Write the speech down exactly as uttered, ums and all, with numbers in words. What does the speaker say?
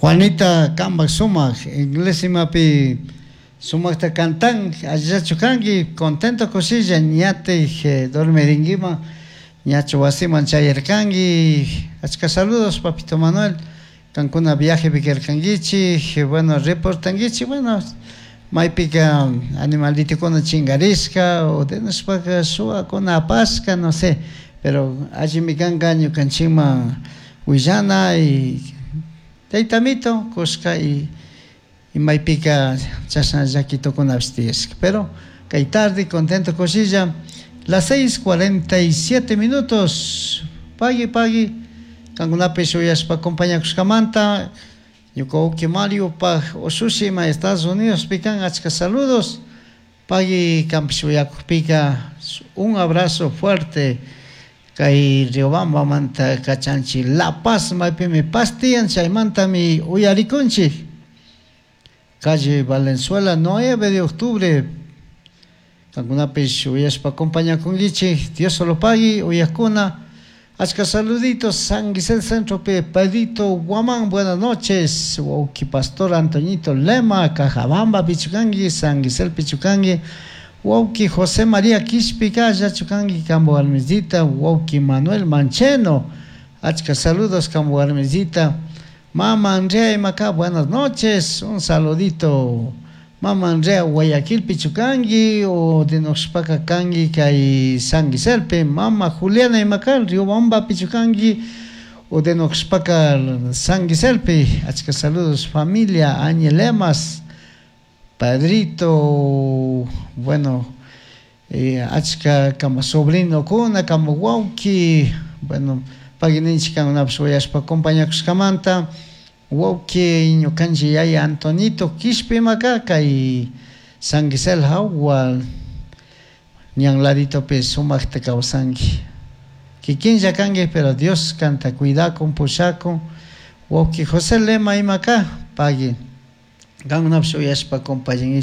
Juanita kambak sumak inglés imapi sumakta cantan allillachu kanki contento kushilla ñatik eh, dormirinkiman ñachu wasiman chayarkanki. Achka saludos, papito Manuel. Kankuna viajepi karkankichik, bueno, reportankichik, bueno, maypika animalitukuna chinkarishka o denishpaka shuwakuna apashka, no sé, pero allimi kanka ñukanchikman willana y tayta amito kushka y y maypika chashna llakitukunapish tiyashka. Pero kay tarde contento kushilla, las seis cuarenta y siete minutos. Pagui, pagui kankunapish uyashpa acompañakushkamanta. Ñuka wawki Mario paj ushushi ima Estados Unidos kan, achka saludos, pagui. Kanpish uyakukpika un abrazo fuerte kay Riobambamanta kachanchik. La Paz maypimi paz tiyan, chaymantami uyarikunchik. Calle Valenzuela, nueve de octubre. Kankunapish uyashpa acompañakunkichik. Dios solo pagui, uyakuna. Achka saluditos San Gisel Centro pe Pedrito Guamán, buenas noches. Wauki Pastor Antoñito Lema, Cajabamba pichukanki, San Gisel pichukanki. Wauki José María Quishpica, chukanki kambo warmisita. Wauki Manuel Mancheno, achka saludos kambo warmisita. Mama Andrea Imacá, buenas noches, un saludito. Mama Andrea Guayaquil pichukanki o de Noxpaca kanki kay San Giselpe. Mama Juliana Imacá, Riobamba pichukanki o de Noxpaca San Giselpe. Achka saludos familia Añelemas, Padrito, bueno, eh, achka kama sobrino kuna, kama wawki, bueno, pagui ninchik kankunapish uyashpa acompañakushkamanta. Wawki ñukanchik yaya Antonito Quishpi imaka kay San Gisel hawa ñan laditopi sumakta kawsanki, kikinlla kanki, pero Dios kanta cuidakun, pushakun. Wawki José Lema imaka, pagui kankunapish uyashpa acompañankichik.